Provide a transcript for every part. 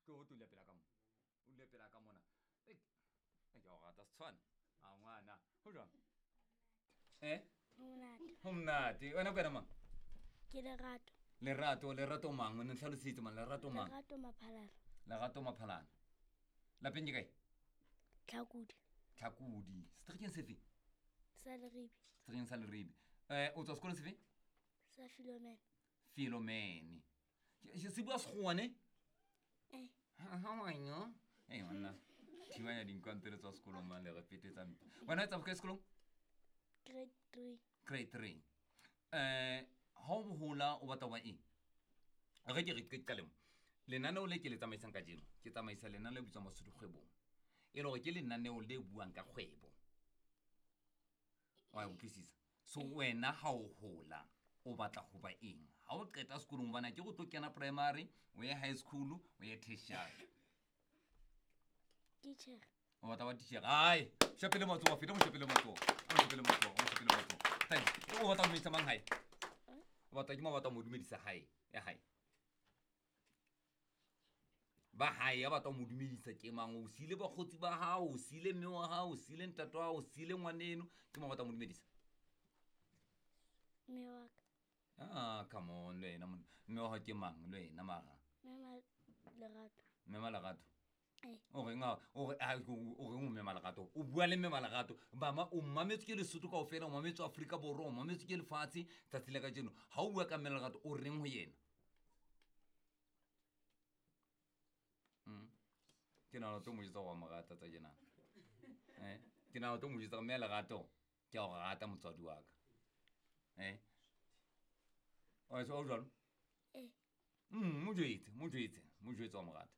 Tlo o dula pela ka mo. O dule pela ka mona. Ei, ke a o rata setshwane. A ngwana. Ho jwang? Eh? Monate. Ho monate. Wena ke wena mang? Ke Lerato. Lerato, Lerato mang? O ne ntlhalositse mang? Lerato mang? Lerato Maphalala. Lerato Maphalala. Lapeng ke kae? Tlhakodi. Tlhakodi. Seterekeng sefe? Sa Leribe. Seterekeng sa Leribe. O tswa sekolong sefe? Sa Philomene. Philomene. Se bua Sekgowa ne? Eh. How are you? Hey, monna. Thibanya dinkwantele tswa sekolong mang le re fetetsa mpe. Wena o etsa bokae sekolong? Grade 3. Grade 3. Ha o hola o batla ho ba eng? Re ke re ke qale mo. Lenaneo le ke le tsamaisang kajeno, ke tsamaisa lenaneo le bitswang Basotho Kgwebong. E le hore ke lenaneo le buang ka kgwebo. Wa utlwisisa? So wena ha o hola o batla ho ba eng? Ha o qeta sekolong bana ke go tlo kena primary, o ye high school, o ye tertiary. Teacher. O batla ba teacher. Ai, shapele matsoho, feta mo shapele matsoho. O shapele matsoho, o shapele matsoho. Thank you. O batla ho dumedisa mang hae? O batla ke mo batla mo dumedisa hae, ya hae. Ba hae ya batla mo dumedisa ke mang? O siile bakgotsi ba hao, o siile mme wa hao, o siile ntate wa hao, o siile ngwaneno, ke mo batla mo dumedisa. Mme wa ka. Ah, come on, le wena monna. Mme wa hao ke mang le wena mara? Mme ma Lerato. Mme ma Lerato. Eh. O reng ha, o re, ha, o reng o mme ma Lerato? O bua le mme ma Lerato. Mama, o mametswe ke Lesotho kaofela, o mametswe Afrika Borwa, o mametswe ke lefatshe tsatsi la kajeno. Ha o bua ka mme Lerato, o reng ho yena? Ke nahana o tlo mo jwetsa hore wa mo rata tsa tjena. Ke nahana o tlo mo jwetsa hore mme Lerato, ke a o rata motswadi wa ka. O o jwalo? Eh. Mo jwetse, mo jwetse, mo jwetse wa mo rata.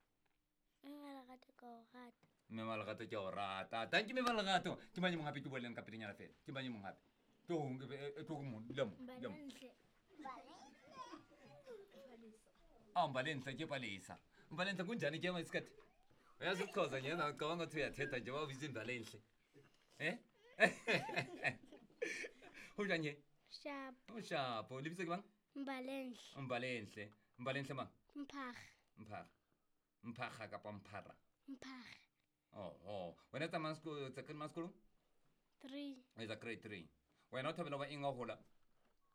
Mme Lerato ke o rata. Mme Lerato ke o rata. Thank you mme Lerato. Ke mang e mong hape ke buang le ka pelenyana fela? Ke mang e mong hape? Tlo tlo mo, dula mo, dula mo. Ah, Mbalenhle ke Palesa. Mbalenhle kunjani ke isikhathi? Uyazi ukuxhosa nje, ngicabanga ukuthi uyathetha nje babiza Mbalenhle. Eh? Unjani nje? Sharp. O sharp. Lebitso ke mang? Mbalenhle. Mbalenhle. Mbalenhle mang? Mphaga. Mphaga. Mphaga kapa Mphara? Mphaga. Oho. Wena tsamaya sekolo, tsa grade sekolong? 3. O etsa grade 3. Wena o thabela ho ba eng ha o hola?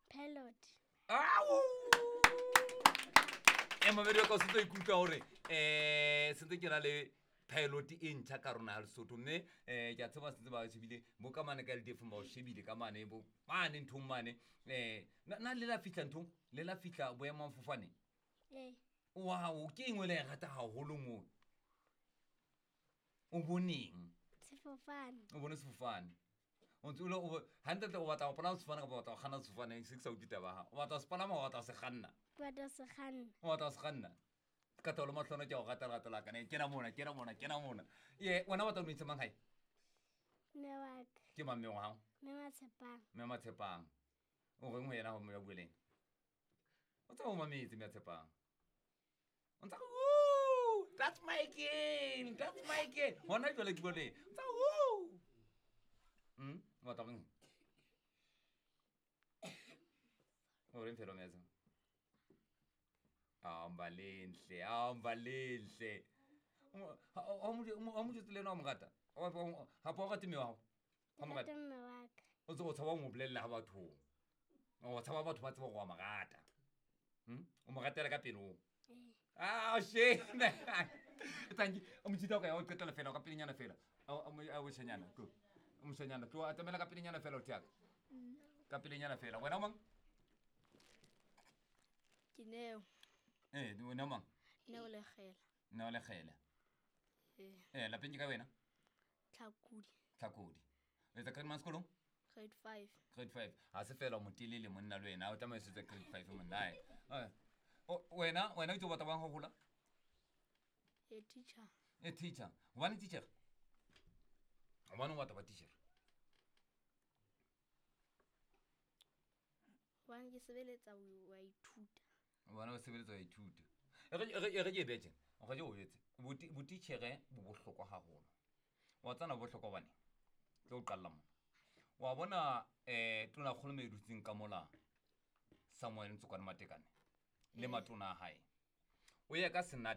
Pilot. Au! E mamedi wa ka o sentse o ikutlwa hore sentse ke na le pilot e ntjha ka rona ya Lesotho, mme ke a tseba sentse ba shebile bo ka mane ka LDF ba o shebile ka mane bo mane nthong mane. Na le la fihla nthong? Le la fihla boemafofane? Ee. Wow, ke eng o le e rata haholo moo? O boneng? Sefofane. O bone sefofane. O ntse o le o hantle o batla ho palama sefofane kapa o batla ho kganna sefofane? Se ke sa utlwe taba ya hao. O batla ho se palama, o batla ho se kganna? Ke batla ho se kganna. O batla ho se kganna? Ka taolo mahlono ke a o rata lerato la ka. Ne, kena mona, kena mona, kena mona. Ye, wena o batla ho dumedisa mang hae? Mme wa ka. Ke mang mme wa hao? Mme Matshepang. Mme Matshepang. O reng ho yena ha o bua le yena? O tseba o mametse mme Tshepang. O ntsa re, woo, that's my girl, that's my girl. Hona jwale ke bua le yena. O ntsa re, woo. O batla ho reng? O reng fela o metsa? Ah, Mbalenhle, ah, Mbalenhle. Ha mo jwetse le yena wa mo rata? Ha o rate mme wa hao? Ha mo rate? Ke rata mme wa ka. O tse o tshaba ho mo bolella ha bathong. O tshaba batho ba tseba hore wa mo rata. O mo ratela ka pelong. Ee. Ah, shame. Thank you. O motjhita o ka ya o qetela fela, o ka pelenyana fela. A moshanyana, tlo. O moshanyana, tlo, atamela ka pelenyana fela o theaka. Ka pelenyana fela. Wena o mang? Ke Neo. Wena o mang? Neo Lekgela. Neo Lekgela. Ee. Lapeng ke ka wena? Tlhakodi. Tlhakodi. O etsa grade mang sekolong? Grade 5. Grade 5. Ha se fela o motelele monna le wena, o tlameha o setse grade 5 monna. Ai. Ai. O, wena, wena o itse o batla bang ho hola? E teacher. E teacher. Hobane teacher? Hobane o batla ba teacher? Hobane ke sebeletsa ho wa ithuta. Hobane o sebeletsa ho ithuta. E re ke e betjhe. O re ke o jwetse. Botitjhere bo bohlokwa haholo. Wa tsana bohlokwa hobane tlo o qalla mona. Wa bona tonakgolo me e dutseng ka mola Samuel Ntsokwane Matekane le matona a hae. O ya ka senate